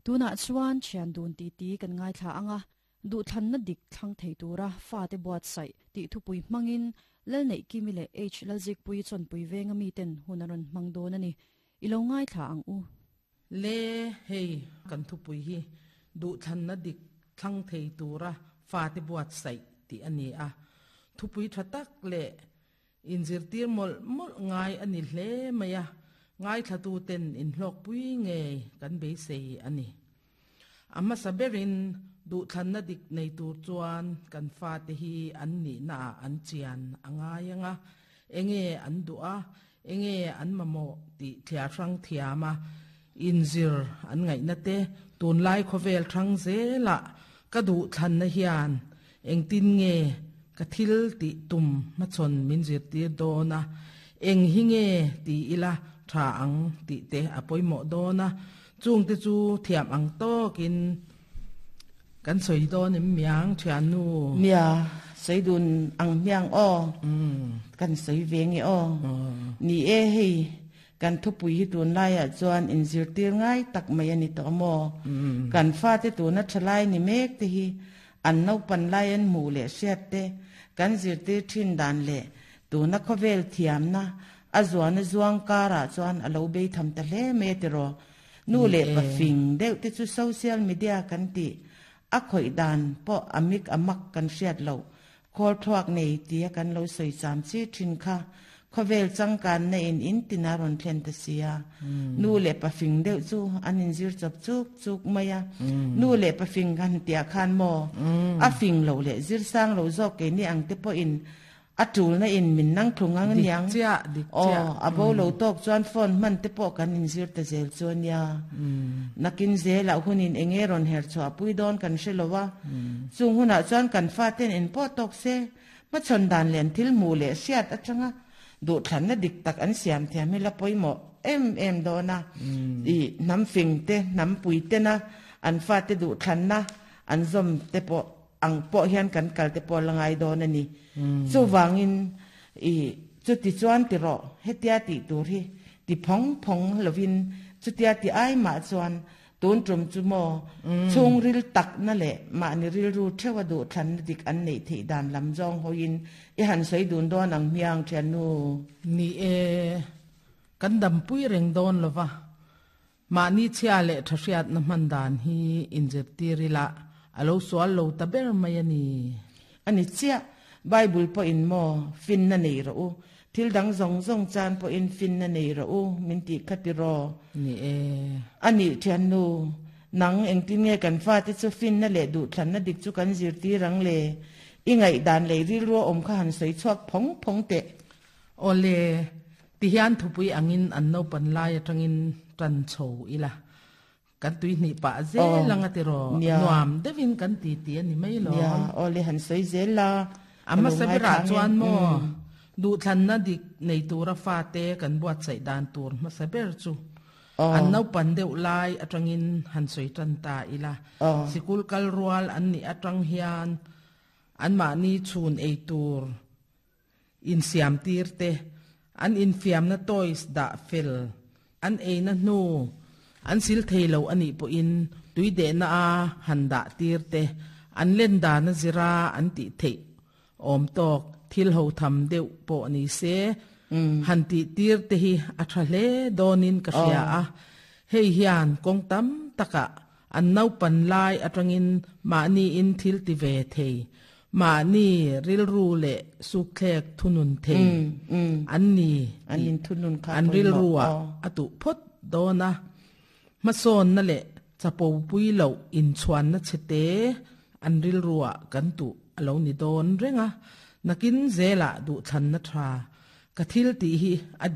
Tunah chuan thian dun titi kan ngaithla ang a, duhthlanna dik thlang thei tura fate buatsaih tih thupui hmangin Lalneihkimi leh H Lalzikpuii chawnpui venga miten hun a rawn hmang dawn a ni. I lo ngaithla ang u. Le hei kan thupui hi duhthlanna dik thlang thei tura fate buatsaih tih a ni a. Thupui tha tak leh inzirtir mawlh mawlh ngai a ni hle mai a, ngaithlatuten inhlawkpui ngei kan beisei a ni. A hmasa berin duhthlanna dik nei tur chuan kan fate hi an nihnaah an chian a ngai ang a, enge an duh a, enge an mamawh tih thliar hrang thiam a, inzir an ngaihna te, tunlai khawvel hrang zelah ka duhthlanna hian engtin nge ka thil tih tum hmachhawn min zirtir dawn a, eng hi nge ti ila tha ang tih te a pawimawh dawn a, Chungte chu thiam ang tawkin kan sawi dawn em miang thiannu? Nia, sawi dun ang hmiang aw. Kan sawi ve nge aw. Ni e, hei kan thupui hi tunlaiah chuan inzirtir ngai tak mai a ni tawh maw? Kan fate tuna thalai ni mek te hi an naupan lai an hmuh leh hriat te kan zirtir thin dan leh Tuna khawvel thiamna a zuana zuang karah chuan a lo bei tham ta hle mai a tiraw. Nu leh pa fing deuh te chu social media kan tih a khawih dan pawh a mik a mak kan hriat loh khawl thluak nei tia kan lo sawi cham chi thin kha khawvel changkanna in in tin a rawn thlen ta sia. Nu leh pa fing deuh chu an inzir chawp chuk chuk mai a. Nu leh pa fing han tiah khan maw a fing loh leh zir sang lo zawk keini ang te pawhin A tulna in min nang thlung ang aniang. Dik chiah, dik chiah. Aw, a bo lo tawk chuan phone hman te pawh kan inzir ta zel chu ania. Nakin zelah hunin eng nge rawn her chhuah pui dawn kan hre lo a. Chung hunah chuan kan faten in pawh tawk se, hmachhawn dan leh an thil hmuh leh hriat atanga duhthlanna dik tak an siam thiam hi la pawimawh em em dawn a. I hnam fing te, hnam pui tena an fate duhthlanna an zawm te pawh ang pawh hian kan kal te pawh la ngai dawn a ni. Chuvangin i chuti chuan ti rawh, hetia tih tur hi ti phawng phawng lovin chutia ti ai mah chuan tun tum chu maw chhungril takna leh mahni rilru theuha duhthlanna dik an neih theih dan lam zawng hawiin i han sawi dun dawn ang hmiang thiannu. Ni e, kan dampui reng dawn lova, Mahni chhia leh tha hriatna hman dan hi inzirtir ila a lo sual lo ta ber mai a ni. A ni chiah, Bible pawhin maw finna nei rawh u, thil dang zawng zawng chan pawhin finna nei rawh u min tih kha ti raw? Ni e. A nih thiannu, nang engtin nge kan fate chu finna leh duhthlanna dik chu kan zirtir ang le? I ngaihdan leh rilru a awm kha han sawi chhuak phawng phawng teh. Awle, Tihian thupui angin an naupan lai atangin tan chho ila, kan tuihnih pah zel ang a ti raw, nuam deuhin kan ti ti a ni mai lo. Nia, awle han sawi zel la, A hmasa berah chuan maw, duhthlanna dik nei tura fate kan buatsaih dan tur hmasa ber chu an naupan deuh lai atangin han sawi tan ta ila, sikul kal rual an nih atang hian anmahni chhun ei tur, Insiamtir te, an infiamna toys dah fel, an eina hnu an sil thei lo a nih pawhin tui dehna a han dah tir te, an len dana zira an tih theih awm tawk thil ho tham deuh pawh ni se, han tih tir te hi a tha hle dawnin ka hria a, hei hian kawng tam takah an naupan lai atangin mahniin thil ti ve thei Mahni rilru leh sukthlek thunun thei an ni tih an rilruah a tuh phawt dawn a. Hmasawnna leh chapopui loh inchhuanna chhete an rilruah kan tuh a lo ni dawn reng a. Nakin zelah duhthlanna tha ka thil tih hi a.